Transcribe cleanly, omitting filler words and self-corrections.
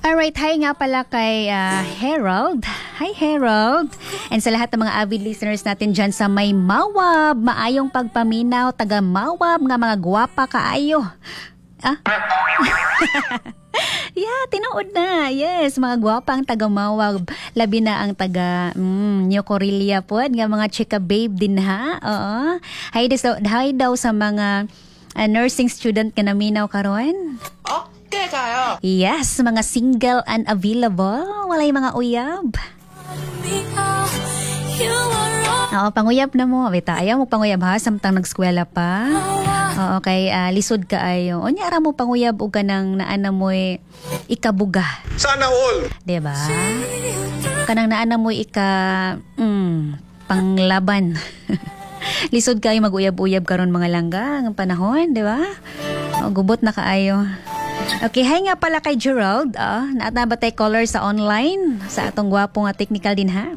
Alright, hi nga pala kay Harold. Hi, Harold. And sa lahat ng mga avid listeners natin dyan sa may Mawab, maayong pagpaminaw, taga Mawab nga mga gwapa kaayo. Ah? Yeah, tinuod na. Yes, mga gwapa ang taga Mawab. Labi na ang taga New Corelia pod nga mga chika babe din ha. Oo. Hi daw sa mga nursing student nga naminaw karon. Okay kayo. Yes, mga single and available. Walay mga uyab. Oo, panguyab na mo. Bita, ayaw mo panguyab ha, samtang nagskwela pa. Oo, kay lisod kaayo. Unya ra mo panguyab og kanang naa mo'y ikabuga. Sana all. 'Di ba? Kanang naa na mo'y ika panglaban. Lisod kayo mag-uyab-uyab karon, mga langga, ang panahon, 'di ba? O, gubot na kaayo. Okay, hi nga pala kay Gerald. Ah, naa na ba tay caller sa online sa atong gwapo nga technical din ha?